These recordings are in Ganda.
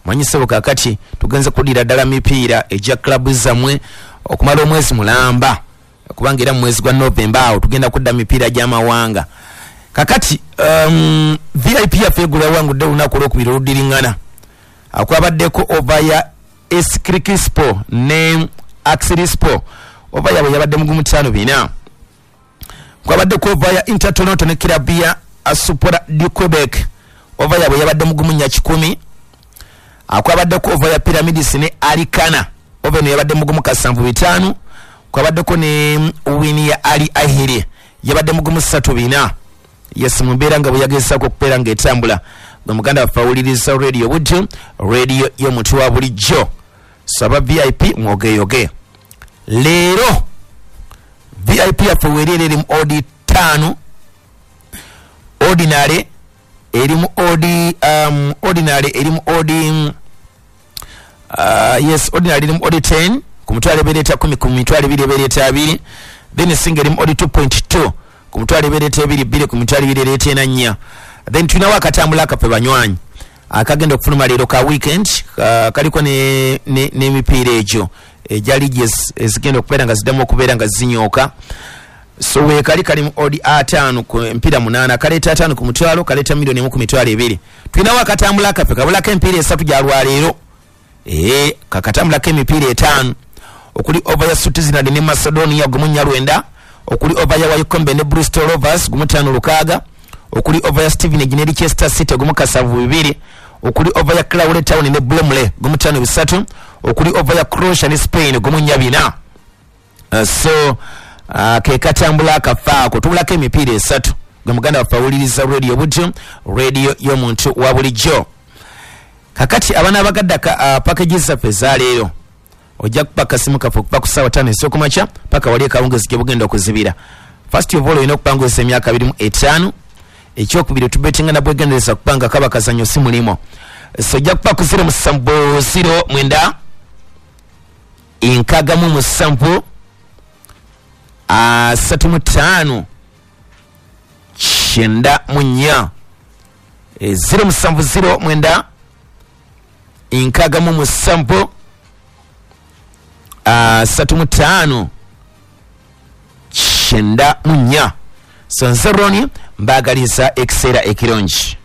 Manyisebo kakati tugenze kudira ddala mipiira ejja club zammwe okumala omwezi mulamba, kubanga era mu mwezi gwa November awo tugenda kudda mipiira gy'amawanga. Kakati VIP yaffe eggulo yawangudde olunaku olwokubiri oluddiringana. Akwabaddeko over ya Eskirikispo ne Axirispo, over yabwe yabadde mugumu 5-4. Kwabaddeko over ya Inter Toronto ne Kirabia Asupora du Quebec, over yabwe yabadde mugumu 4-1. Akwabaddeko over ya Pyramids ne Alikana, over eno yabadde mugumu 7-5. Kwabaddeko ne wini ya Ali Ahili yabadde mugumu 3-4. Yes, mu mbeera nga bwe yagezaako okubeera ng'etambula. Gwe muganda waffe awuliriza Radio Buddu, radio y'omuntu wa bulijjo. Saba VIP mwogeyoge. Leero VIP yaffe weerera eri mu odi 5, ordinary eri mu odi ordinary eri mu odi yes, ordinary eri mu odi 10 ku mitwalo ebiri eta 10 ku mitwalo ebiri ebiri eta 2, then singa eri mu odi 2.2 ku mitwalo ebiri eta 2 2 ku mitwalo ebiri eta 4. Then tulinawo akatambula akaffe banywanyi akagenda okufuluma leero ka weekend, kaliko n'emipiira egyo egya liigi ezigenda okubeera nga ziddamu okubeera nga zinyooka. So weekali kali mu odi 5 ku emipiira 8, kaleeta 5 ku mutwalo, kaleeta miliyoni 1 ku mitwalo 2. Tulinawo akatambula akaffe kabulako emipiira 3 gya lwaleero. Kakatambulako emipiira 5 okuli over ya Switzerland ne Macedonia 1-9, okuli over ya Wycombe ne Bristol Rovers 1-5-6, okuli over ya Stevenage ne Leicester City 1-7-2, okuli over ya Crawley Town ne Bromley 1-5-3, okuli over ya Croatia ne Spain 1-4. So ke katambula akafaako tubulako emipiira 3. Gwe muganda waffe awuliriza Radio Buddu, radio y'omuntu wa bulijjo. Kakati abaana abagadda packages zaffe ezaleero ojja kuba akasimu kaffe okuva ku ssaawa 5 ez'okumakya paka wali akawungeezi gye bugenda okuzibira. First of all olina okupanguzisa emyaka 25. Ekyokubiri tubetinga na bwegendereza kubanga kaba kazannyo si mulimu. So ojja kuba ku 0709 67 35 94, 0709 67 35 94. So nze Ronnie mbaagaliza ekiseera ekirungi.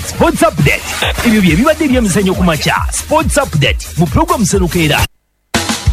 Sports Update. Ebyo bye bibadde ebyemizannyo ku makya. Sports Update mu program Serukeera.